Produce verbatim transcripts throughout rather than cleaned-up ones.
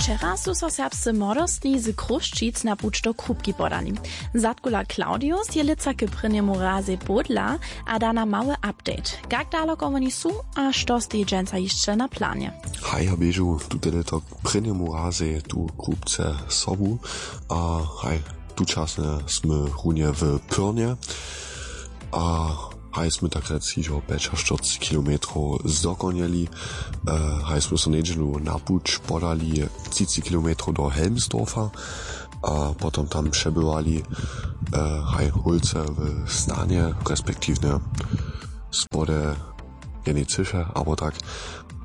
Wčera su so serbscy młodostni z Chrósćic na puć do Krupki podali. Zadkula Claudius je lětsa k prěnjemu razej pódla a da nam mały update, kak daloko woni su a što steji dźensa hišće na planje. Haj, ja běžu tute lěto k prěnjemu razej tu Krupce sobu a haj, tučasnje smy runje w Pyrnje. A haj smy tak rjec hižo pjećaštyrcci kilometrow zdokonjeli. E, haj smy so njedźelu na puć podali třiceći kilometrow do Helmsdorfa a potom tam přebywali, e, haj hólce w stanje, respektiwnje spode jednej třěše abo tak.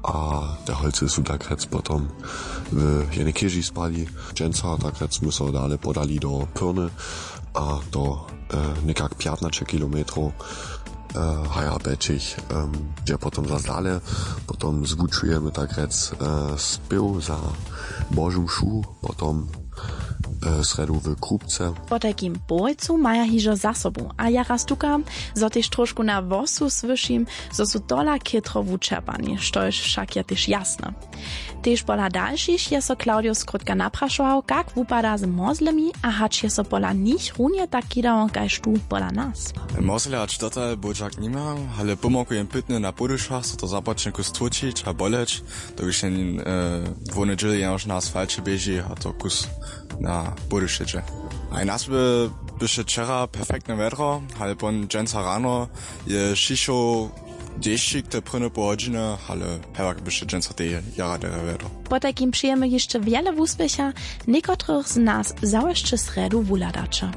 A te holcy su tak rjec potom w jednej chěži spali. Dźensa tak rjec smy so dale podali do Pyrny a to, e, někak pjatnaće kilometrow, e, haja pjećich, em, je potom zas dale. Potom zwučujemy tak rjec, e, spěw za Božu mšu, potom, e, srjedu w Krupce. Potajkim połojcu maja hižo za sobu a jara stukam, zo tež trošku na włosu słyšim, zo su tola chětro wučerpani, štož wšak je tež jasne. Tež pola dalšich je so Claudio skrótka naprašował, kak wupada z mozlemi a hač je so pola nich runje tak kidało kaž tu pola nas. Mozle hač dotal božak nimam, ale pomoguje jim pytny na podušach, so to započne kus tłučić a boleć, dokiž jen, e, dwóne dźěli jenož na asfalće běži a to kus na podušeće. A nas by byše wčera perfektne wjedro, ale pon dźensa rano je šišoł dešćik te prěnje poł hodźiny, ale hewak byše dźensa tej jara derje wjedro. Potajkim přejemy hišće wjele wuspěcha, někotrych z nas zawěsće srjedu wuhladaće.